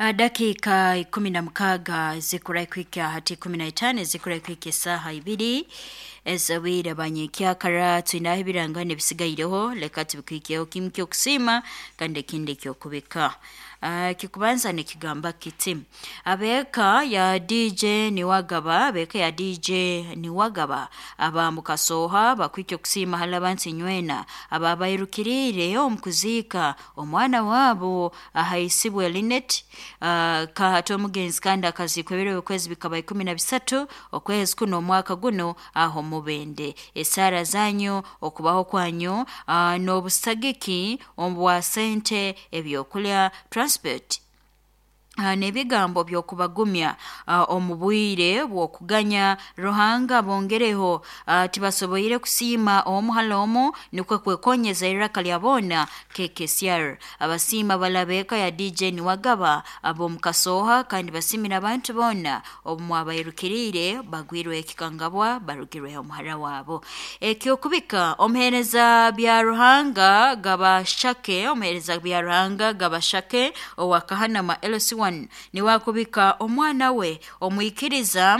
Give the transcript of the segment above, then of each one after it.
Dakiika 16 zikura kuhika hati 15 zikura kuhika esaaha 2 ez'obwire banyekyakara. Twinaho ebirangano ebisigaireho, leka tubikuhikeho, kimu ky'okusiima kandi ekindi eky'okubika. Kikubanza nikigamba kiti: abeeka ya DJ Niwagaba, abeeka ya DJ Niwagaba aba Mukasooha bakwikya okusiima hali abantu inywena ababairukiriire omu kuziika omwana waabo ahaisibwe Linet kahati omugenzi, kandi akaziikwa ebiro by'okwezi bikaba 13 okwezi kuno omwaka guno aho Mubende. Esaara zanyu, okubaho kwanyu n'obusagiki obwa sente, ebyokulya, transport n'ebigambo by'okubagumya omu bwire bw'okuganya, Ruhanga bongereho. Tibasoboire kusiima omu hali omu, nukwo kwekonyeza iraka lya boona KKCR abasiima balabeeka ya DJ Niwagaba ab'omu Kasooha, kandi basimira abantu boona obu mwabairukiriire bagwirwe ekikangabwa barugirweho omuhara wabo. Ekyokubika, omuheereza bya Ruhanga Gabashake, omuheereza bya Ruhanga Gabashake owa Kahanama LC1 niwe akubika omwana we omwikiriza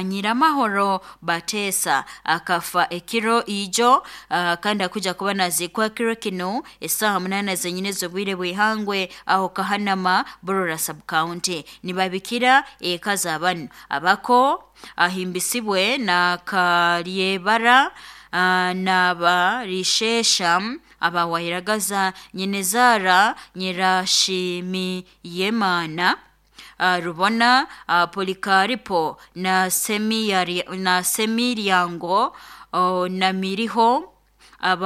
Nyiramahoro Bateesa akafa ekiro ijo, kandi akuja kuba naziikwa kiro kinu esaaha 8 zenyini ez'obwire bw'ihangwe aho Kahanama, Burora Sub County. Nibabikira eka z'abanu abako ahimbisibwe na Kalyebara n'abarishesha abawahiragaza nyinezara Nyirashimiyemana Rubona, Polikaripo na Semiryango, na Miriho aba.